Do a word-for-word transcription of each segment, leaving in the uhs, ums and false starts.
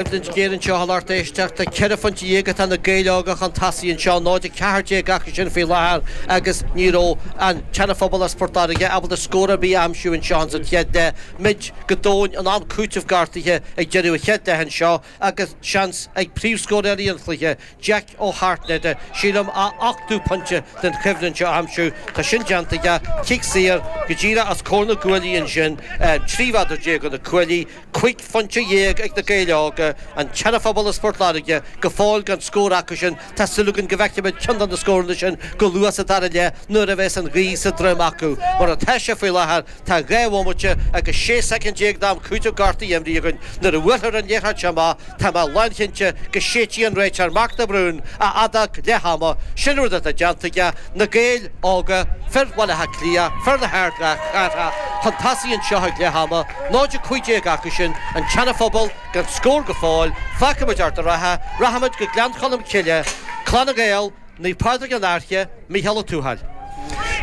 Coimhlint ghéar anseo a lucht éisteachta, ceithre phointe dhéag atá na Gaeil Óga chun tosaigh anseo, náid a ceathair déag acu sin faoi láthair agus ní raibh an Seana-Phobal as Port Láirge ábalta scór ar bith a aimsiú anseo sa chéad leath. Muid go domhain in am cúitimh gortaithe ag deireadh an chéad leath anseo agus seans ag príomhscórálaí an chluiche, Jack Ó hAirtnéide, sílim, a ochtú pointe den choimhlint seo a aimsiú. Tá sin déanta aige, cic saor go díreach os comhair na gcuaillí ansin, trí mhéadar déag ó na cuaillí. Cúig phointe dhéag ag na Gaeil Óga, an tSeana-Phobal as Port Láirge, go fóill gan scór acu sin. Tá súil againn go bhfeicfimid ceann de na scóranna sin go luath sa dara leath nuair a bheas an ghaoth sa droim acu. Mar atá sé faoi láthair, tá dhá bhomaite agus sé soicind déag d'am cúitimh gortaithe imrithe againn. Nuair a bhuailfear an liathróid seo amach, tá mé lánchinnte go séidfidh an réiteoir Mark de Brún a fheadóg leath ama. Sin rud atá déanta aige. Na Gaeil Óga, fir Bhaile Átha Cliath, fir na hardchathrach, chun tosaigh anseo ag leath ama, náid a cúig déag acu sin, an tSeana-Phobal gan scór go fóill. Fágfaimid ort a rogha, rachaimid go Gleann Cholm Cille, Clann na nGael, Naomh Pádraig an Fhairche, Mícheál Ó Tuathail.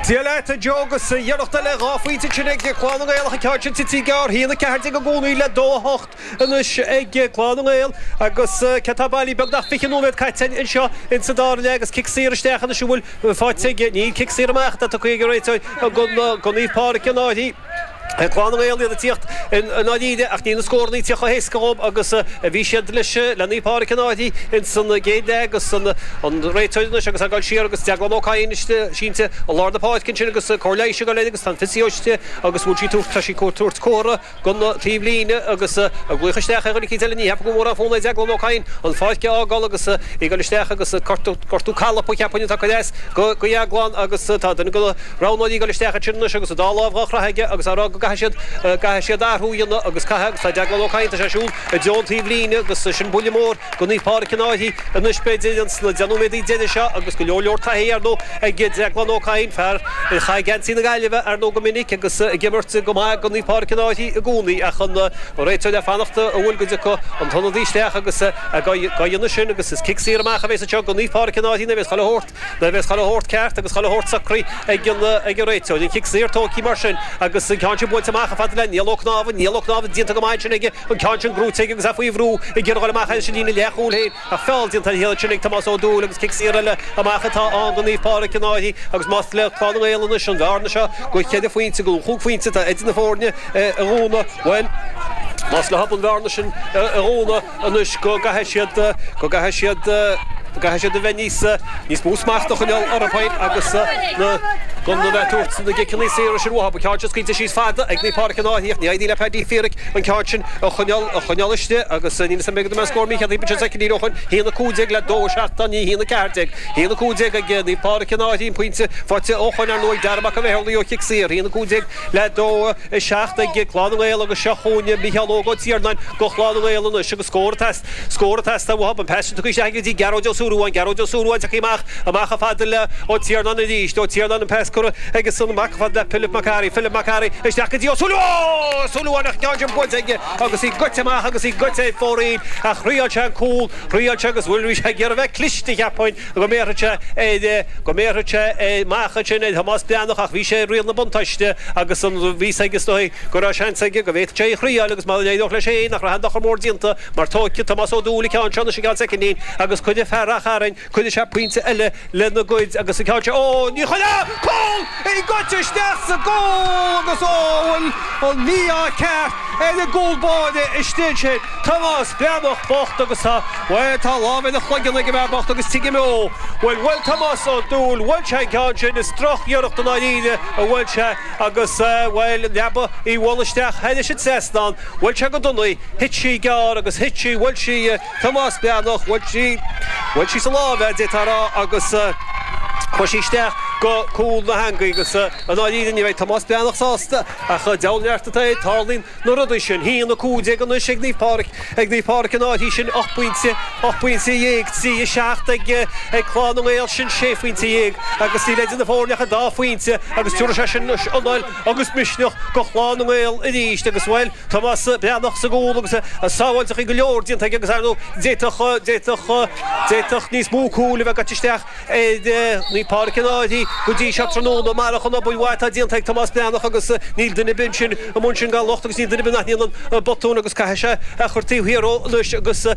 Dia leat, a Joe, agus iarracht eile dhá phointe ansin ag Clann na nGael ach an ceann sin tite gearr, a haon a ceathair déag i gcónaí le dó a hocht anois ag Clann na nGael agus cé tá bailí beagnach fiche nóiméad caite anseo insa dara leath agus cic saor isteach anois a bhfuil faighte aige, níl cic saor amach atá tugtha ag an réiteoir do Naomh Pádraig an Fhairche. Clann na nGael iad ag tíocht i ndáiríre ach níl na scóranna ag tíocht chomh héasca dhóibh agus a bhí siad leis le Naomh Pádraig an Fhairche ins an gcéad leath agus an réiteoir anois agus ag dul siar agus Deaglán Ó Cadhain sínte i lár na páirce ansin agus cóir leighis ag dul air agus tá an physio istigh agus bhfuil sí tabhairt tá sí tabhairt comhartha don taobh líne agus ag glaoch isteach ar dhuine eicínt eile ní cheapaim go bhfuil mórán fonn ar Deaglán Ó Cadhain an pháirc a fhágáil agus é ag dul isteach agus gortú gortú calpa cheapfainn atá curtha as go Dheaglán agus tá duine de na roghnóirí ag dul isteach ansin anois agus an dá lámh dhá chroitheadh aige agus á rá go gcaithfidh siad, gcaithfidh siad athrú a dhéanamh agus caithfidh agus tá Deaglán Ó Cadhain, tá sé ag siúl i dtreo an taobh líne agus sin buille mór do Naomh Pádraig an Fhairche anois b'fhéidir ins na deich nóiméadaí deiridh seo agus go leor leor taithí ar ndóigh ag Deaglán Ó Cadhain, fear a chaith geansaí na Gaillimhe ar ndóigh go minic agus ag imirt go maith do Naomh Pádraig an Fhairche i gcónaí ach an réiteoir le fanacht an bhfuil go dtiocfaidh an t-ionadaí isteach agus á dhéanamh sin agus is cic saor amach a bheas anseo do Naomh Pádraig an Fhairche nuair a bheas chuile shórt Nuair a bheas chuile shórt ceart agus chuile shórt socraithe ag an ag an réiteoir, an cic saor tógtha mar sin agus an ceann sin buailte amach chomh fada le Niall Ó Cnámha, Niall Ó Cnámha déanta go maith ansin aige, an ceann sin gnóite aige agus é faoi bhrú ag iarraidh a dhul amach leis an líne leathchúil féin ach feall déanta ar a chéile ansin ag Tomás Ó Dúill agus cic saor eile amach atá ann do Naomh Pádraig an Fhairche agus más le Clann na nGael anois an bhearna seo go cheithre phointe go chúig phointe atá idir na foirne a dhúnadh, bhuel, más leo an bhearna sin a dhúnadh anois go gcaithfidh siad go gcaithfidh siad go gcaithfidh siad a bheith níos níos mó smacht a choinneáil orthu féin agus na gan a bheith ag tabhairt na gciceanna saora sin uathu. An ceann sin scaoilte síos fada ag Naomh Pádraig an Fhairche ach ní éiríonn le Paddy Feerick an ceann sin a choinneáil a choinneáil istigh agus níl 'fhios a'm b'fhéidir go mbeidh scór mícheart timpeall soicindí ó shin. Haon a cúig déag le dó a seacht ní haon a ceathair déag. Haon a cúig déag ag Naomh Pádraig an Fhairche an pointe faighte ó shoin ar ndóigh ag Dara Mac an Bheithúlaigh ó chic saor. Haon a cúig déag le dó a seacht ag Clann na nGael agus seo chugainn Micheál Óg Ó Tiarnáin do Chlann na nGael anois agus scór ag scór ag teastáil uathu. An pas sin tugtha isteach go dtí Gearóid Ó Súilleabháin, Gearóid Ó Súilleabháin tagtha amach, amach chomh fada le Ó Tiarnáin arís, Ó Tiarnáin an pas curtha aige san amach chomh fada le Pilib Mac Fhearraigh, Philip McCarthy isteach go dtí Ó Súilleabháin, Ó Súilleabháin ach an ceann sin buailte aige agus í goite amach agus í goite ag fóraoil ach thriáil sé an cúl, thriáil sé agus bhuel bhí sé ag iarraidh a bheith cliste cheapfainn go mbéarfadh sé ar, go mbéarfadh sé amach ansin ar Thomás Breathnach ach bhí sé i riail na buntáiste agus an, bhí 'fhios aige is dóigh go raibh seans aige go bhféadfadh sé í a thriáil agus má éireodh leis féin nach raibh aon dochar mór déanta mar tógfaidh Tomás Ó Dúill an ceann seo anois i gceann soicindín agus cuirfidh fear Ráth Chairn, cuirfidh sé pointe eile lena gcuid agus an ceann seo, ó ní chuirfidh! Cúl! Í goite isteach sa gcúl agus ó bhfuil an mí-ádh ceart ar an gcúl báire istigh ansin, Tomás Breathnach bocht agus tá, bhuel tá lámh ar a chloigeann ag an bhfear bocht agus tuigim dó, bhuel bhuail Tomás Ó Dúill, bhuail sé an ceann sin, is droch-iarracht i ndáiríre a bhuail sé agus bhuel an leaba í bhualadh isteach thairis an trasnán, bhuail sé go dona í, thit sí gearr agus thit sí, bhuail sí Tomás Breathnach, bhuail sí, bhuail sí sa lámh é, d'fhéadfá a rá agus chuaigh sí isteach go cúl na heangaí agus i ndáiríre ní bheidh Tomás Breathnach sásta ach deabhal neart atá air, tarlaíonn na rudaí sin. Haon a cúig déag anois ag Naomh Pádraig, ag Naomh Pádraig an Fhairche, sin ocht bpointe, ocht bpointe dhéag, trí a seacht ag ag Clann na nGael, sin sé phointe dhéag agus níl idir na foirne ach an dá phointe agus tabharfaidh sé sin anois anáil agus misneach go Chlann na nGael arís agus bhuel, Tomás Breathnach sa gcúl agus sábháilteachaí go leor déanta aige agus ar ndóigh d'fhéadfadh, d'fhéadfadh, d'fhéadfadh níos mó cúil a bheith gaite isteach ar Naomh Pádraig an Fhairche go dtí seo tráthnóna mar an obair mhaith atá déanta ag Tomás Breathnach agus níl duine ar bith ansin amuigh ansin gan locht agus níl duine ar bith nach ndéanann botún agus caithfidh sé a chur taobh thiar anois agus